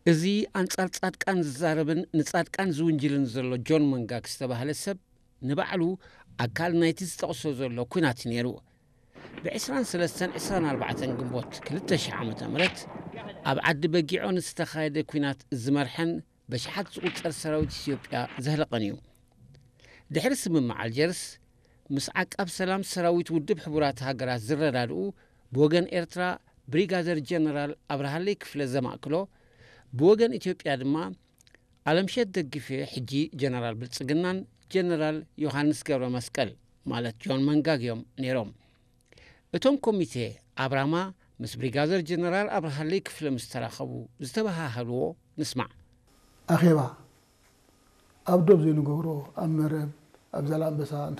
እዚ ኣንጻር ጻድቃን ዝዛረብን ንጻድቃን ዝውንጅልን ዘሎ ጆን መንጋግ ዝተባህለ ሰብ፣ ንባዕሉ ኣካል ናይቲ ዝጠቕሶ ዘሎ ኲናት እዩ ነይሩ። ብ23 24 ግንቦት 2000 ዓ.ም ኣብ ዓዲ በጊዖ ንዝተኻየደ ኲናት ዝመርሐን በሽሓት ዝቑጸር ሰራዊት ኢትዮጵያ ዘህለቐን እዩ። ድሕሪ ስምምዕ ኣልጀርስ፣ ምስ ዓቃብ ሰላም ሰራዊት ውድብ ሕቡራት ሃገራት ዝረዳድኡ፣ ብወገን ኤርትራ ብሪጋደር ጀነራል ኣብርሃለይ ክፍለ ዘማእክሎ፣ ብወገን ኢትዮጵያ ድማ ኣለምሸት ደግፌ፣ ሕጂ ጀነራል ብልጽግናን ጀነራል ዮሃንስ ገብረ መስቀል፣ ማለት ጆን መንጋግ እዮም ነይሮም። እቶም ኮሚቴ ኣብ ራማ ምስ ብሪጋደር ጀነራል ኣብርሃለይ ክፍለ ምስ ተራኸቡ ዝተበሃሃልዎ ንስማዕ። ኣኼባ ኣብ ዶብ ዘይንገብሮ፣ ኣብ መረብ፣ ኣብ ዛላምበሳ እንተ